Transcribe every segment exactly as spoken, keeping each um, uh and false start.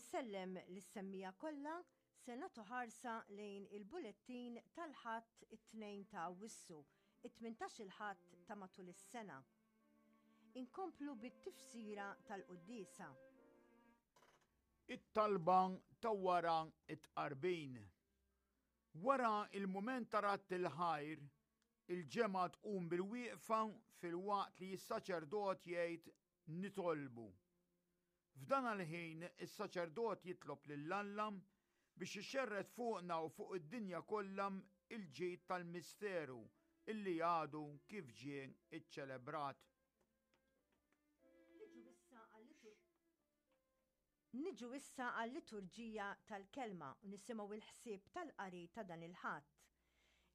Insellem lis-semmiegħa kollha, se nagħtu ħarsa lejn il-bulettin tal-Ħadd it-tnejn ta' Awwissu, it-tmintax-il Ħadd ta' matul is-sena. Inkomplu bit-tifsira tal-quddiesa. It-talba ta' wara it-tqarbin. Wara il-mument ta' radd il-ħajr, il-ġemgħa tqum bil-wieqfa filwaqt li s-saċerdot jgħid nitolbu. F'dan il-ħin is-saċerdot jitlob lil Alla biex ixerred fuqna u fuq id-dinja kollha il-ġid tal-misteru illi għadu kif ġie iċċelebrat. Niġu issa għal-liturġija tal-kelma u nisimgħu il-ħsieb tal-qari ta' dan il-Ħadd.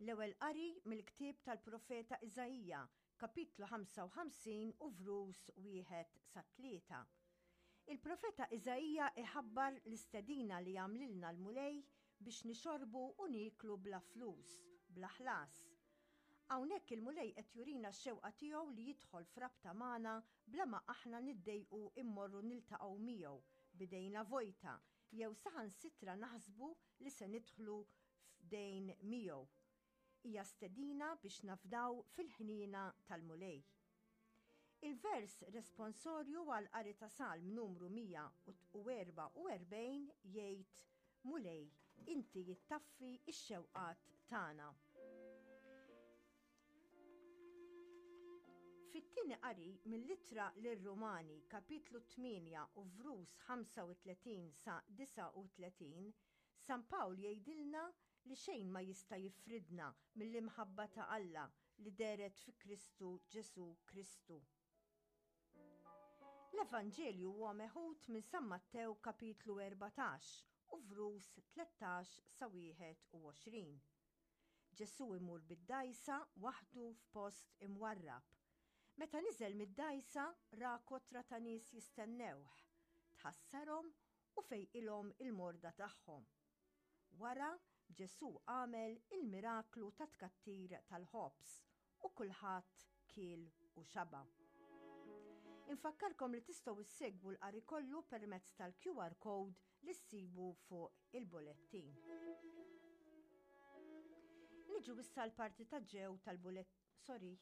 L-ewwel qari mill-ktieb tal-profeta Iżaija, kapitlu ħamsa u ħamsin u vrus wieħed sa tlieta. Il-profeta Iżaija iħabbar l-istedina li għamlilna l-Mulej biex nixorbu u nieklu bla flus, bla ħlas. Hawnhekk il-Mulej qed jurina x-xewqa tiegħu li jidħol f'rabta magħna bla ma aħna niddejqu immorru niltaqgħu miegħu bidejna vojta jew saħansitra naħsbu li se nidħlu f'dejn miegħu. Hija stedina biex nafdaw fil-ħniena tal-Mulej. Il-vers responsorju għal qari ta' Salm numru mija u erbgħa u erbgħin jgħid: Mulej, inti jittaffi x-xewqat tagħna. Fit-tieni qari mill-ittra lir-Rumani, kapitlu tmienja u vrus ħamsa u tletin sa disgħa u tletin, San Pawl jgħidilna li xejn ma jista' jifridna mill-imħabba ta' Alla li dehret fi Kristu Ġesu Kristu. L-Evanġelju huwa meħud minn San Mattew kapitlu erbatax u vrus tlettax sa wieħed u għoxrin. Ġesu imur bid-dgħajsa waħdu f'post imwarrab. Meta niżel mid-dgħajsa ra kotra ta' nies jistennewh, tħassarhom u fejqilhom il-morda tagħhom. Wara Ġesu għamel il-miraklu ta' tkattir tal-ħobż u kulħadd kiel u xaba. Infakkarkom li tistgħu issegwu l-qari kollu permezz tal-Q R code li ssibu fuq il-bulettin. Niġu issa l-parti ta' ġew tal-bulet-, sorry.